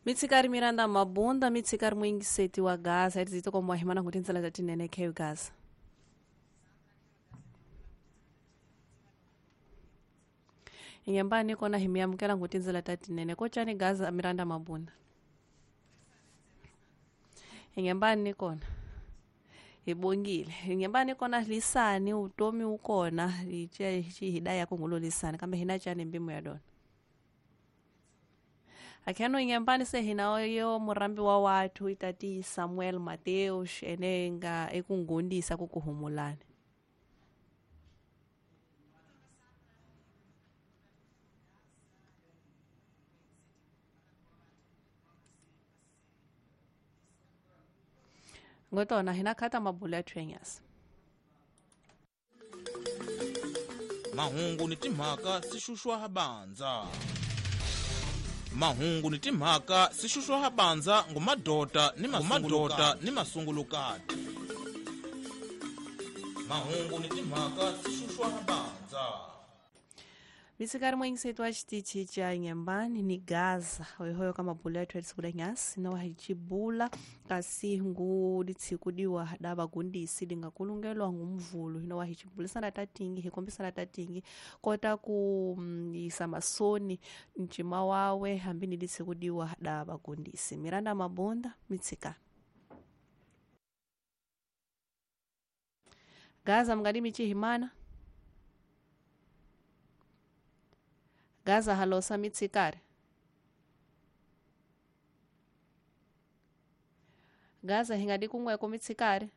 Mitsikari Miranda Mabunda, mitsikari muingiseti wa Gaza, etizito kwa mwahimana kutinzela tatinene keu Gaza. Ingembani kona himiyamukela ngutinzela tatinene kochani Gaza Miranda Mabunda. Ingembani kona ibongile ingembani kona lisani utomi ukona iche hidaya kungulo lisani kambe hina chani mbimu ya dona. Akheno ingembani se hinayo murambi wa watu itati Samuel Mateus enenga ekungundisa kukuhumulana. Ngotona hina khata mabula twenyas. Mahungu ni timhaka sishushwa habanza. Mahungu ni timhaka sishushwa habanza ngumadota ni mamadota ni masungulukati. Mahungu ni timhaka sishushwa habanza. Mitsikari mwingisetu wa xitichi cha Nyembani ni Gaza hoyohoyo ka mabula ya twelisiku nyasi na wahicibula kasi ngu litshikudiwa da vagundisi lingakulungelwa ngumvulu hino wahichibulisana tatingi hikombisana tatingi kota ku yisa masoni ncima wawe hambi ni litshikudiwa da vagundisi. Miranda Mabunda mitsika Gaza mngadi michihimana Gaza halosa mitsikari. Gaza hingadi kumweko mitsikari.